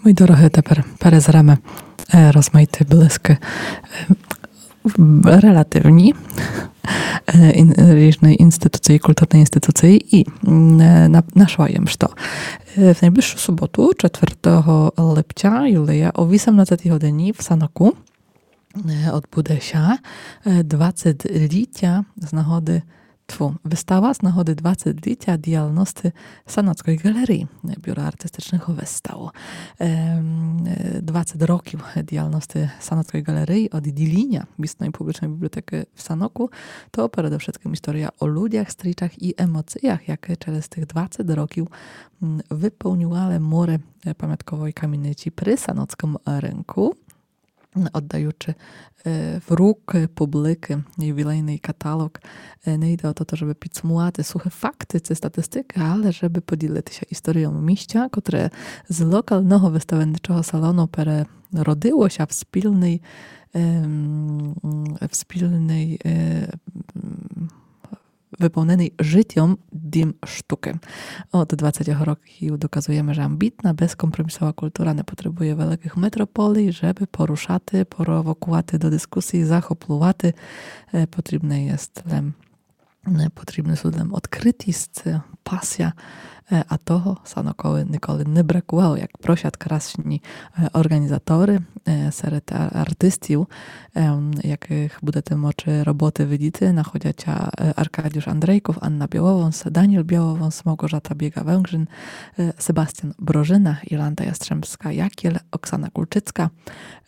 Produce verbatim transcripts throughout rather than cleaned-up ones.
Мій дорогый, тепер перезреме, е, розмаїты блискы, е, релативні, е, ін-, ріжны інституциі, културны інституциі і, м, е, на-, нашла єм, што, е, в найближшу суботу, четвертого липця, Юлія, о вісемнадцятій годині в Саноку, е, одбуде ся, е, двадцетлітя з нагоды, тьфу, выстава з нагоды двадцетлітя діялности Саноцькой ґалереї, е, Бюро артистичных выстав. Ем, е, двадцет років діялности Саноцькой ґалереї од діліня місної публічной бібліотекы в Саноку, то передовшыткым історія о людях, стрічах і емоціях, якы через тых двадцет років, м, выполнювали муры, е, памятковой каміниці при Саноцькым рынку, м, оддаючы, е, в рукы публікы ювілейный каталог. Е, не йде о то, жебы підсумувати сухы факты ци статистикы, але жебы поділити ся історійом міста, котре з локалного выставенничого салону переродило ся в спільный, ем, в спільный, е, м, выполненый жытьом дім штукы. Од двадцятьох років доказуєме, же амбітна, безкомпромісова култура не потребує великых метрополій, жебы порушати, провокувати до дискусії, захоплювати. Е, потрібне єст лем, е, потрібны сут лем одкрытіст, пасія, е, а того Санокови николи не бракувало, як просят красні, е, орґанізаторы, е, серед ар-, артистів, ем, якых будете мочы роботы видіти, находять ся, е, Аркадіюш Андрейков, Анна Біловонс, Даніл Біловонс, Малґожата Біґа-Венгрин, е, Себастьян Брожына, Йоланта Ясtrzębska-Jagiel, Оксана Кульчицка,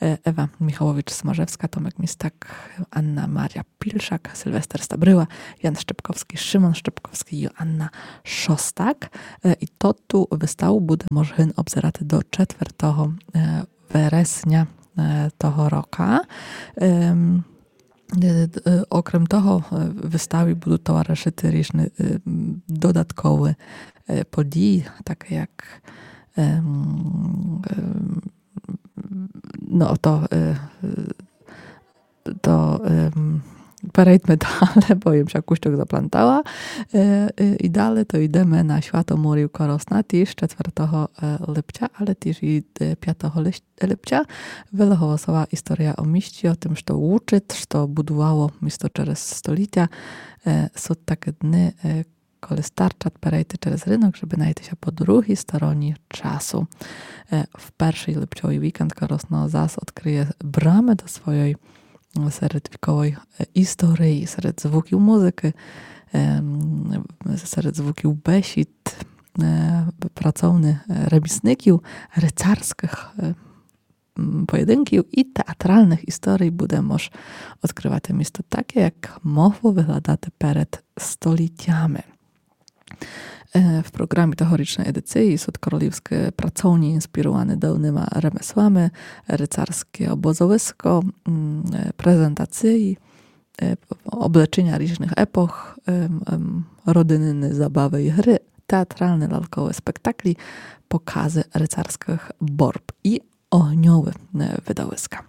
е, Ева Міхаловіч-Смажевска, Томек Містак, Анна Марія Пільшак, Сільвестер Стабрила, Ян Щепковскій, Шимон Щепковскій, Йоанна Шостак. Е, і тоту выставу буде мож гын обзерати до четвертого, е, вересня, е, того рока. Ем, е, е, окрем того, е, выставі будуть товаришыти ріжны, е, м, додатковы, е, події, такы як, ем, ем, но, то, е, е, то, ем, перейдме дале, бо єм ся кущок заплантала. Е, е, і дале то йдеме на Свято мурів Коросна, тіж четвертого, е, липця, але тіж і, е, пятого лист-, липця. Велоголосова історія о місті, о тым, што учыт, што будувало місто через столітя. Е, сут такы дни, е, коли старчат перейти через рынок, жебы найти ся по другій стороні часу. Е, в першый липцьовый вікенд Коросно зас одкрыє брамы до свойой, м, середвіковой, е, історії, серед звуків музыкы, ем, серед звуків бесід, е, працовни, е, ремісників, рицарскых, е, м, поєдинків і театралных історій буде мож одкрывати місто такє, як могло выглядати перед столітями. Е, в програмі тогорічной едиції сут королівскы працовні, інспірованы давныма ремеслами, рицарске обозовиско, м, е, презентації, е, облечыня ріжных епох, ем, ем, родинны забавы і гры, театралны лялковы спектаклі, показы рицарскых борб і огньовы, е, видовиска.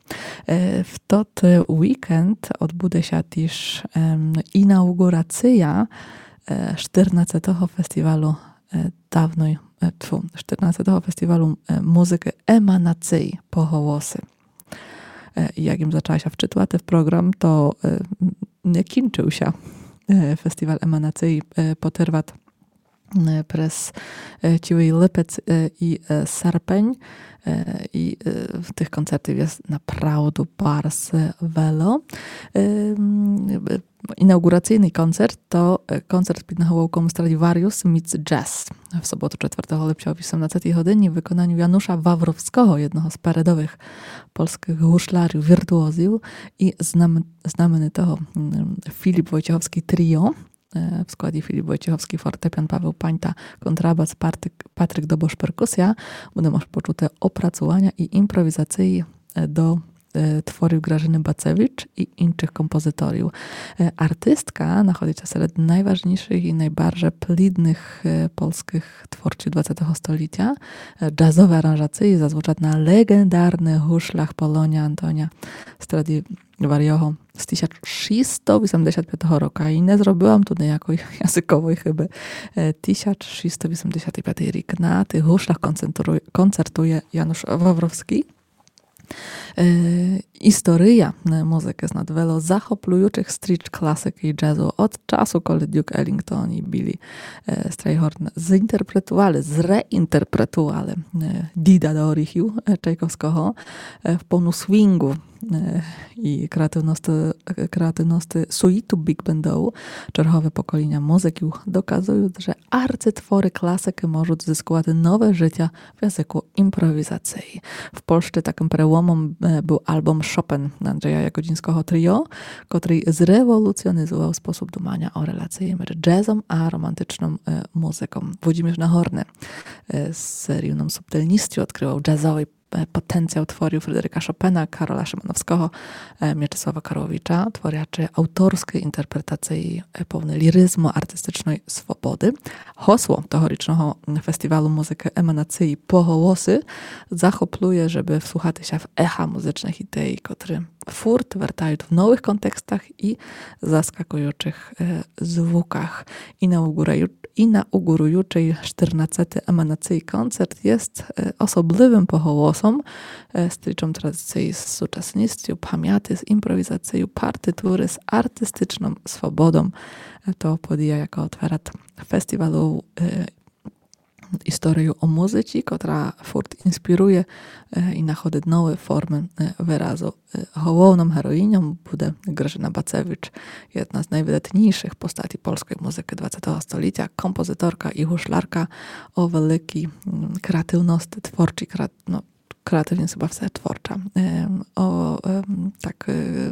Е, в тот, е, вікенд одбуде ся тіж, ем, інауґурація, е, штирнадцятого фестівалу, е, давной, е, тьфу, штирнадцятого фестівалу, е, музыкы Еманациі по голоси. Е, і як єм зачала ся вчытувати в програм, то, е, не кінчыв ся, е, фестівал Еманациі, е, потерват, е, през, е, цілый липец, е, і, е, серпень, е, і, е, тых концертів єст направду барз, е, вело. Е, м, е, інауґурацийный концерт то, е, концерт під наголовком Stradivarius meets Jazz. В соботу, четвертого липця о вісемнадцятій годині в выконаню Януша Вавровского, єдного з передовых польскых гушлярів, віртуозів, і знам-, знаменитого, м, Філіп Войчеховскій тріо, е, в складі Філіп Войчеховскій фортепіан, Павел Паньта контрабас, Партик-, Патрик Добош перкусія, буде мож почути опрацуваня і імпровізациі, е, до е, творів Гражыны Бацевич і іншых композиторів. Е, артистка находить ся серед найважнійшых і найбарже плідных, е, польскых творців двадцятого столітя. Е, джазовы аранжації зазвучат на леґендарных гушлях Полония Антония Страдіваріого з тисяч шістсто вісемдесят пятого рока. І не зробила м ту ниякой языковой хыбы. Е, тисяч шістсто вісемдесят пятый рік. На тых гушлях концентрує, концертує Януш Вавровскій. Е, істория, е, музыкы з надвело захоплюючых стріч класыкы і джазу од часу, коли Дюк Еллінґтон і Білі, е, Страйгорн зінтерпретували, зреінтерпретували, е, Діда до оріхів, е, Чайковского, е, в повну свінґу, е, і креативности, креативности суіту біґбендову, чергове поколіня музыків доказуют, же арцитворы класыкы можут зыскувати нове жытя в языку імпровізації. В Польщі такым переломом, е, быв албом Шопен Анджея Ягодзінского тріо, котрый зреволюціонизував способ думаня о релації між джазом а романтичным, е, музыком. Владімір Нагорный, е, з рівным субтильністю одкрывал джазовый, е, потенціал творів Фредеріка Шопена, Карола Шимановского, е, Мячеслава Кароловіча, творячы авторскы інтерпретації, е, повны ліризму, артистичной свободы. Госло тогорічного фестівалу музыкы Еманації «Поголосы» захоплює, жебы вслухати ся в еха музычных ідей, котры фурт вертают в новых контекстах і заскакуючых, е, звуках. Інауґураю-, інауґуруючый штырнадцятый Еманації концерт єст, е, особливым поголосом, е, стрічом традиції з сучасністю, памяти з імпровізацію, партитуры з артистичным свободом. Е, то подія, яка отверат фестівалу, е, історию о музыці, котра фурт інспірує, е, і находит новы формы, е, выразу. Е, головным героіньом буде Гражына Бацевич, єдна з найвыдатнійшых постатій польской музыкы двадцятого столітя, композиторка і гушлярка о великій, м, креативности, творчій креа-, но, креативность хыба все творча. Е, о, е, так, е,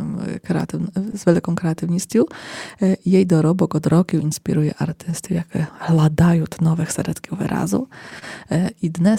креатив-, з великом креативністю. Е, єй доробок од років інспірує артистів, якы гладают новых середків выразу. Е, і днес